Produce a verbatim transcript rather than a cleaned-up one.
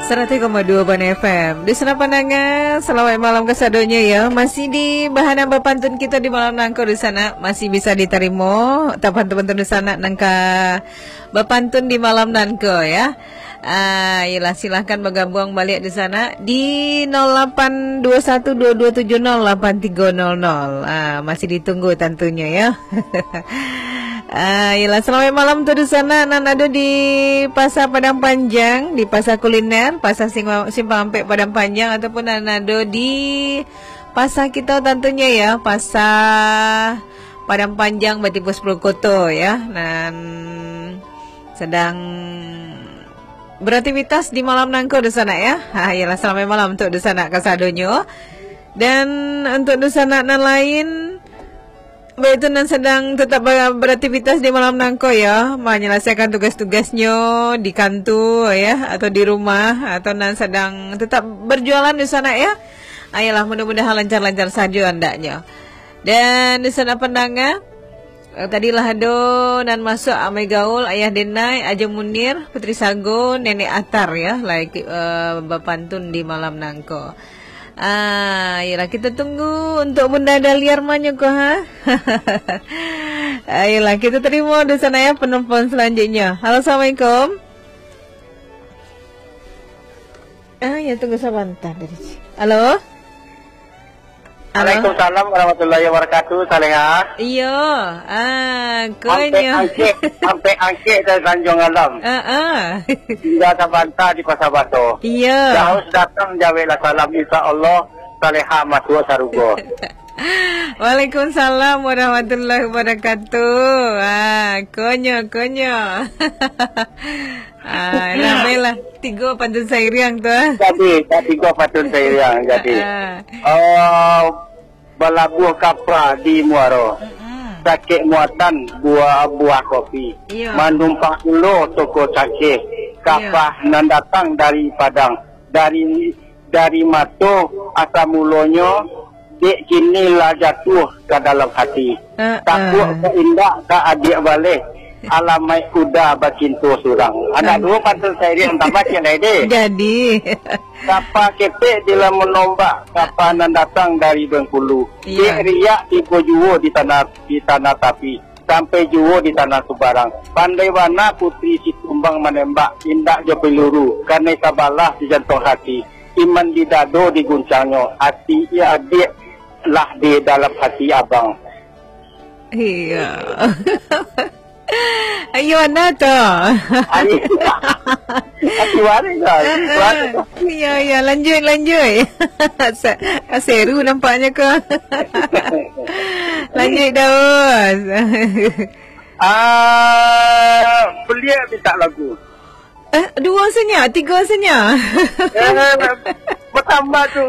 Saratuih koma duo Bana F M. Dunsanak pandanga, salamaik malam kasadonyo, yo. Masih di bahana bapantun kito di malam nangko, dunsanak. Masih bisa ditarimo, tapantun-pantun dunsanak nan ka bapantun di malam nangko, yo. Ah, iyolah, silahkan bagabuang baliak dunsanak di nol lapan dua satu dua dua tujuh nol lapan tiga nol nol. Ah, masih ditunggu tantunyo, yo. Ah, iyolah, salamaik malam tu dunsanak nan ado di Pasar Padang Panjang, di Pasar Kuliner, Pasar Singwa-, Simpang Ampek Padang Panjang, ataupun nan ado di pasar kito tantunyo, yo, Pasar Padang Panjang, Batipuah Sapuluah Koto, yo, nan sadang beraktivitas di malam nangko dunsanak, yo. Ha, iyolah, salamaik malam untuk dunsanak kasadonyo. Dan untuk dunsanak nan lain, baitu nan sadang tetap ber-, beraktivitas di malam nangko, yo, manyalasaikan tugas-tugasnyo di kantua, yo, atau di rumah, atau nan sadang tetap berjualan dunsanak, yo. Ayolah, mudah-mudahan lancar-lancar sajo andaknyo. Dan dunsanak pandanga, eh, tadi lah ado nan masuak, Amai Gaul, Ayah Denai, Ajo Munir, Putri Sago, Nenek Atar, yo, lah, eh, bapantun di malam nangko. Ah, iyolah, kita tunggu untuk Bunda Dahlia manyo ko, ha? Ayolah, kita terima dulu sana ya penelpon selanjutnya. Halo, assalamualaikum. Ah, ya, tunggu sebentar dari ci-, halo? Halo? Waalaikumsalam warahmatullahi wabarakatuh, Saleha. Iyo, ah, konyo. Ampek angkek, ampek angkek dari Tanjung Alam. Ah, ah. Tinggal sabanta di Pasar Bato. Iyo. Jauh datang, jaweklah salam, insya Allah, Saleha masuak sarugo. Waalaikumsalam warahmatullahi wabarakatuh. Ah, konyo, konyo. Ah, lah, baiklah. Tigo pantun sairiang tu, ah. Jadi, tak tigo pantun sairiang, jadi. Ah. Oh, balabuah kapa di muaro. Mm-mm. Sakik muatan buah, buah kopi. Iya. Manumpang pulo toko cangkeh. Iya. Kapa nan datang dari Padang. Dari, dari mato asal mulonyo, dek kini lah jatuah ka dalam hati. Ah, takuik ah. Ka indak ka adiak baleh, alamaik kuda bacinto surang. Anak ah. Duo pantun sairiang tambah ciek lai deh. Jadi. Kapa kepek di lamun ombak, kapa nan datang dari Bengkulu. Iya. Dek riak tibo juo di tanah, di tanah tapi. Sampai juo di tanah subarang. Pandai bana Putri Situmbang manembak, indak jo peluru, kanai sabalah di jantuang hati. Iman di dado diguncangnyo, ati adiak lah di dalam hati abang. Iya. Ayo, anda tu. Ayo. Ati waris lah, ati waris. Iya, iya, lanjut, lanjut. Sa-, seru nampaknya ko. Lanjut, Daus. Ah, beliau minta lagu. Eh, dua saja, tiga saja. Eh, bertambah tu.